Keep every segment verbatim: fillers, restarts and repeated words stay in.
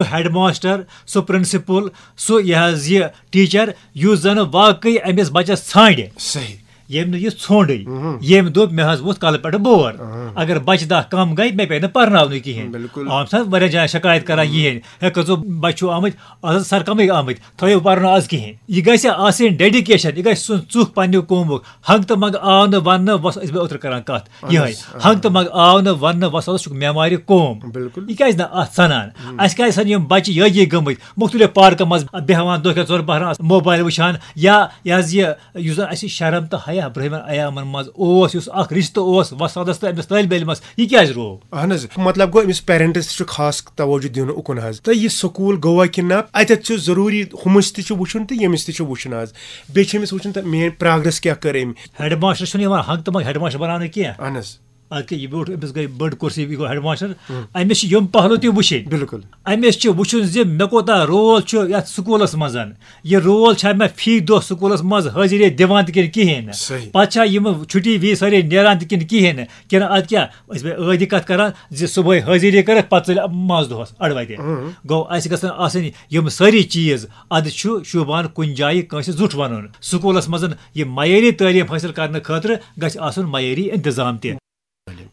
Head master, سُہ principal, سُہ یہِ حظ یہِ ٹیچر، یُس زن واقعی أمِس بچس ژھانڈِ، صحیح۔ ییٚمۍ نہٕ یہِ ژھونڈٕے، ییٚمۍ دوٚپ مےٚ حظ ووٚتھ کلہٕ پٮ۪ٹھ بور۔ اگر بچہِ دہ کم گٔے، مےٚ پیٚیہِ نہٕ پرناونُے کِہینۍ۔ بِلکُل۔ عام چھِ حظ واریاہ جایہِ شکایت کران یِہنٛدۍ، ہے کٔژو بچہِ چھِو آمٕتۍ، از حظ سر کمٕے آمٕتۍ، تھٲیِو پرنہٕ از کِہینۍ۔ یہِ گژھِ آسٕنۍ ڈیڈیکیشن، یہِ گژھِ سُہ ژُکھ پننہِ قومُک۔ ہنٛگ تہٕ منٛگ آو نہٕ وننہٕ، وۄس-، أسۍ بیٚیہِ اوترٕ کران کتھ یِہے، ہنٛگ تہٕ منٛگ آو نہٕ وننہٕ، وۄستادس چھُکھ معمارِ قوم۔ بِلکُل۔ یہِ کیازِ نہٕ اتھ ژنان؟ اسہِ کیازِ چھنہٕ یِم بچہِ یٲگی گٔمٕتۍ، مختلف پارکن منٛز بیہوان، دۄہ کٮ۪ن ژۄن پہرن موبایل وٕچھان، یا یہِ حظ یہِ یُس زن اسہِ شرم تہٕ حیا برہمن ایامن منٛز اوس، یُس اکھ رشتہٕ اوس وۄستادس تہٕ أمِس طٲلبہِ علمس، یہِ کیازِ روو؟ اہن حظ، مطلب گوٚو أمِس پیرنٹس تہِ چھُ خاص توجہ دیُن اُکُن حظ، تہٕ یہِ سکوٗل گوٚوا کِنہٕ نہ، اتٮ۪تھ چھُ ضروٗری ہُمِس تہِ چھُ وٕچھُن تہٕ ییٚمِس تہِ چھُ وٕچھُن حظ۔ بیٚیہِ چھِ أمِس وٕچھُن تہٕ میٲنۍ پروگرس کیٛاہ کٔر أمۍ۔ ہیڈ ماسٹر چھُنہٕ یِوان ہنٛگ تہٕ منٛگ ہیڈ ماسٹر بناونہٕ کینٛہہ۔ اہن حظ۔ اَدٕ کیٛاہ، یہِ بیوٗٹھ أمِس گٔے بٔڑ کُرسی، یہِ گوٚو ہیڈ ماسٹر۔ أمِس چھِ یِم پہلو تہِ وٕچھِنۍ۔ بِلکُل۔ أمِس چھِ وٕچھُن زِ مےٚ کوٗتاہ رول چھُ یَتھ سکوٗلَس منٛز۔ یہِ رول چھا مےٚ فی دۄہ سکوٗلَس منٛز حٲضِری دِوان تہِ کِنہٕ کِہیٖنۍ نہٕ؟ صحیح۔ پَتہٕ چھا یِم چھُٹی وِزِ سٲری نیران تہِ کِنہٕ کِہیٖنۍ نہٕ؟ کِنہٕ اَدٕ کیٛاہ، أسۍ بیٚیہِ ٲدۍ کَتھ کَران زِ صُبحٲے حٲضِری کٔرٕکھ، پَتہٕ ژٔلۍ منٛز دۄہَس اَڑٕ وَتہِ۔ گوٚو، اَسہِ گژھن آسٕنۍ یِم سٲری چیٖز۔ اَدٕ چھُ شوٗبان کُنہِ جایہِ کٲنٛسہِ زُٹھ وَنُن۔ سکوٗلَس منٛز یہِ معیٲری تعلیٖم حٲصِل کَرنہٕ خٲطرٕ گژھِ آسُن معیٲری اِنتِظام تہِ۔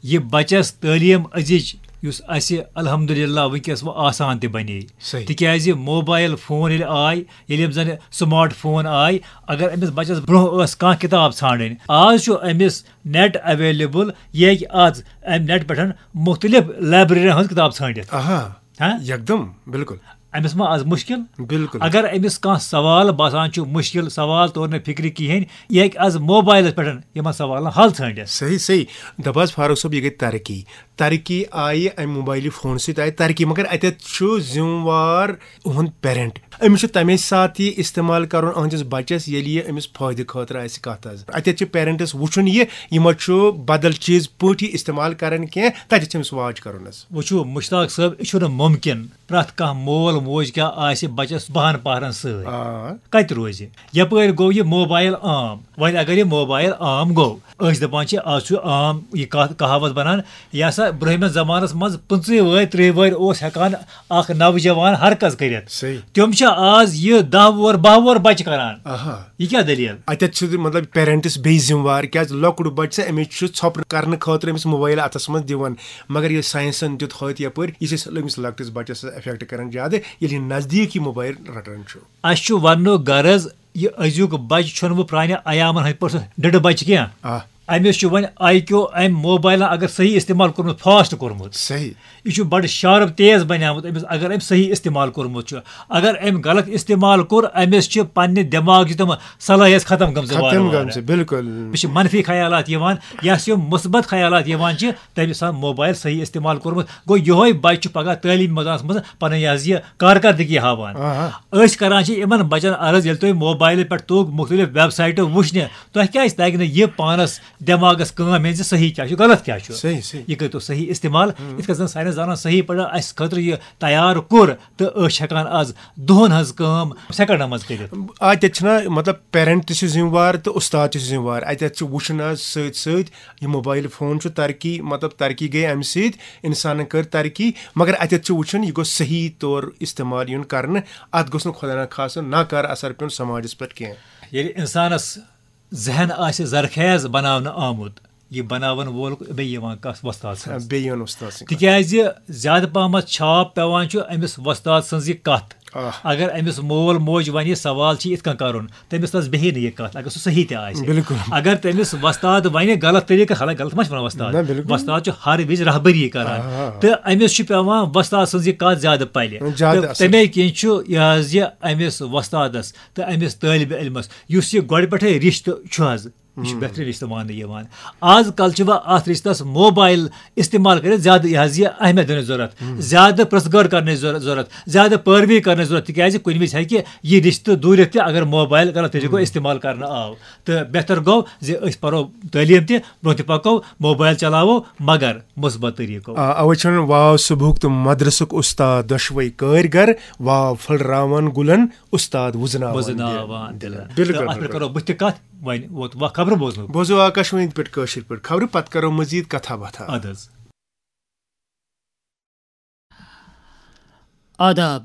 یہِ بچس تعلیٖم أزِچ، یُس اَسہِ الحمدللہ وٕنکیٚس وۄنۍ آسان تہِ بنے۔ صحیح۔ تِکیازِ موبایل فون ییٚلہِ آے، ییٚلہِ یِم زن سمارٹ فون آے، اگر أمِس بچس برونٛہہ ٲس کانٛہہ کِتاب ژھانڈٕنۍ، آز چھُ أمِس نیٹ اویلیبل، یہِ ہیٚکہِ از امہِ نیٹ پٮ۪ٹھ مختلف لائبریرین ہٕنٛز کِتاب ژھٲنٛڈِتھ۔ آہا۔ ہاں؟ یکدم، بِلکُل۔ أمِس ما از مُشکِل؟ بِلکُل۔ اگر أمِس کانٛہہ سوال باسان چھُ مُشکِل، سوال توٚر نہٕ فِکرِ کِہیٖنۍ، یہِ ہیٚکہِ از موبایلَس پٮ۪ٹھ یِمن سوالن حل ژھٲنٛڈِتھ۔ صحیح، صحیح۔ دَپ حظ فاروق صٲب، یہِ گٔے ترقی۔ ترقی آیہِ اَمہِ موبایلہِ فون سۭتۍ آیہِ ترقی، مگر اَتٮ۪تھ چھُ ذِمہٕ وار اُہُنٛد پیرنٹ۔ أمِس چھُ تَمے ساتہٕ یہِ استعمال کَرُن أہٕنٛدِس بَچَس، ییٚلہِ یہِ أمِس فٲیدٕ خٲطرٕ آسہِ کَتھ حظ۔ اَتٮ۪تھ چھُ پیرنٹس وٕچھُن یہِ، یہِ ما چھُ بدل چیٖز پٲٹھۍ استعمال کَران کینٛہہ، تَتٮ۪تھ چھُ أمِس واچ کَرُن حظ۔ وٕچھِو مُشتاق صٲب، یہِ چھُنہٕ مُمکِن پرٛٮ۪تھ کانٛہہ مول موج کیٛاہ آسہِ بَچَس بَہَن پَہرَن سۭتۍ۔ آ۔ کَتہِ روزِ؟ یَپٲرۍ گوٚو یہِ موبایل عام۔ وۄنۍ اگر یہِ موبایل عام گوٚو، أسۍ دَپان چھِ آز چھُ عام یہِ کَتھ کہاوت بَنان، یہِ ہسا برٛونٛہمِس زمانَس منٛز پٕنٛژٕہ وٕہٕرۍ، ترٛہ وٕہٕرۍ اوس ہٮ۪کان اَکھ نوجوان ہر کَس کٔرِتھ۔ صحیح۔ تِم چھِ آز یہِ دَہ وُہُر، بَہہ وُہُر بَچہٕ کَران۔ آہا۔ یہِ کیٛاہ دٔلیٖل؟ اَتٮ۪تھ چھُ مطلب پیرنٹس بیٚیہِ ذِمہٕ وار، کیٛازِ لۄکُٹ بَچہٕ چھُ، أمِس چھُ ژھۄپہٕ کرنہٕ خٲطرٕ أمِس موبایل اَتھَس منٛز دِوان، مگر ییٚلہِ ساینسَن دیُت ہٲتھ یَپٲرۍ، یہِ چھِ اَصٕل أمِس لۄکٹِس بَچَس افیکٹ کران زیادٕ، ییٚلہِ یہِ نزدیٖک یہِ موبایل رَٹان چھُ۔ اَسہِ چھُ وَننُک غرض، یہِ أزیُک بَچہٕ چھُنہٕ وۄنۍ پرٛانہِ ایامَن ہٕنٛدۍ پٲٹھۍ سُہ ڈٕڈٕ بَچہٕ کینٛہہ۔ آ۔ أمِس چھُ وۄنۍ آی کیو اَمہِ موبایلَن اگر صحیح استعمال کوٚرمُت، فاسٹ کوٚرمُت۔ صحیح۔ یہِ چھُ بَڑٕ شارپ تیز بَنیومُت أمِس، اگر أمۍ صحیح استعمال کوٚرمُت چھُ۔ اگر أمۍ غلط استعمال کوٚر، أمِس چھِ پننہِ دٮ۪ماغچہِ تِم صلٲحیت ختم گٔمژٕ وارٕ ختم وارٕ۔ گٔمژٕ، بِلکُل۔ أمِس چھِ منفی خیالات یِوان، یَس یِم مثبت خیالات یِوان چھِ، تٔمِس آسان موبایل صحیح استعمال کوٚرمُت۔ گوٚو، یِہوٚے بَچہِ چھُ پگاہ تعلیٖم مٲدانَس منٛز پَنٕنۍ یہِ حظ یہِ کارکردگی ہاوان۔ آہا۔ أسۍ کران چھِ یِمن بَچَن عرض، ییٚلہِ تُہۍ موبایلہٕ پٮ۪ٹھ توٚگ مُختٔلِف ویب سایٹہٕ وٕچھنہِ، تۄہہِ کیٛازِ تَگہِ نہٕ یہِ پانَس دٮ۪ماغَس کٲم ہیٚنۍ زِ صحیح کیٛاہ چھُ، غلط کیٛاہ چھُ؟ صحیح، صحیح۔ یہِ کٔرۍ تو صحیح استعمال۔ یِتھ کٔنۍ زَن ساینس دانن صحیح پٲٹھۍ اَسہِ خٲطرٕ یہِ تیار کوٚر، تہٕ أسۍ چھِ ہٮ۪کان آز دۄہَن ہٕنٛز کٲم سیکنڈَن منٛز کٔرِتھ۔ آ، تَتہِ چھِنہ مطلب پیرنٹ تہِ چھِ ذِمہٕ وار تہٕ اُستاد تہِ چھِ ذِمہٕ وار۔ اَتٮ۪تھ چھِ وٕچھُن حظ سۭتۍ سۭتۍ یہِ موبایل فون چھُ ترقی، مطلب ترقی گٔے اَمہِ سۭتۍ، اِنسانَن کٔر ترقی، مگر اَتٮ۪تھ چھُ وٕچھُن یہِ گوٚژھ صحیح طور استعمال یُن کرنہٕ۔ اَتھ گوٚژھ نہٕ خۄدا نخواستہٕ ناکارٕ اثر پیوٚن سماجَس پٮ۪ٹھ کینٛہہ۔ ییٚلہِ اِنسانَس ذہن آسہِ زرخیز بناونہٕ آمُت، یہِ بناون وول بیٚیہِ یِوان کس وۄستاد سٕنٛز۔ بیٚیہِ یِوان اُستاد سٕنٛدِ۔ تِکیٛازِ زیادٕ پہمتھ چھاپ پٮ۪وان چھُ أمِس وۄستاد سٕنٛز یہِ کتھ۔ آہ۔ اگر أمِس مول موج ونہِ، یہِ سوال چھُ یِتھ کٔنۍ کرُن، تٔمِس تس بیٚہی نہٕ یہِ کتھ، اگر سُہ صحیح تہِ آسہِ۔ بِلکُل۔ اگر تٔمِس وۄستاد ونہِ غلط طریٖقہٕ، حالانکہ غلط ما چھِ ونان وۄستاد؟ نہ، بِلکُل۔ وۄستاد چھُ ہر وِزِ رہبری کران۔ آ۔ تہٕ أمِس چھُ پٮ۪وان وۄستاد سٕنٛز یہِ کتھ زیادٕ پلہِ۔ زیادٕ تہٕ اثر۔ تَمے کِنۍ چھُ یہِ حظ یہِ أمِس وۄستادس تہٕ أمِس طٲلبِ علمس، یُس یہِ گۄڈٕ پٮ۪ٹھے رشتہٕ چھُ حظ، یہِ چھُ بہترین رشتہٕ ماننہٕ یِوان۔ آز کل چھِ وۄنۍ اتھ رشتس موبایل استعمال کٔرِتھ زیادٕ یہِ حظ یہِ اہمیت دِنٕچ ضروٗرت، زیادٕ پرژھ گٲر کرنٕچ ضروٗرت، ضروٗرت، زیادٕ پٲروی کرنٕچ ضروٗرت، تِکیازِ کُنہِ وِزِ ہیٚکہِ یہِ رشتہٕ دوٗرِتھ تہِ، اگر موبایل غلط طریٖقو استعمال کرنہٕ آو۔ تہٕ بہتر گوٚو زِ أسۍ پرو تعلیٖم تہِ، برونٛہہ تہِ پکو، موبایل چلاوو، مگر مثبت طریٖقو۔ آ، اوے چھُ وَنان، واو صبحُک تہٕ مدرسُک اُستاد دۄشوے کٲرۍ گر، واو پھٔلراوان گُلن، اُستاد وُزناوان وُزناوان دِلن۔ دِلن۔ بِلکُل، تہٕ اَتھ پٮ۪ٹھ بِلکُل۔ کرو بہٕ تہِ کتھ، وۄنۍ ووت وق خبرٕ بوزنُک۔ بوزو آکاشوانی پٮ۪ٹھ کٲشِر پٲٹھۍ خبرٕ، پتہٕ کرو مزید کتھا باتھا۔ اَدٕ حظ۔ آداب،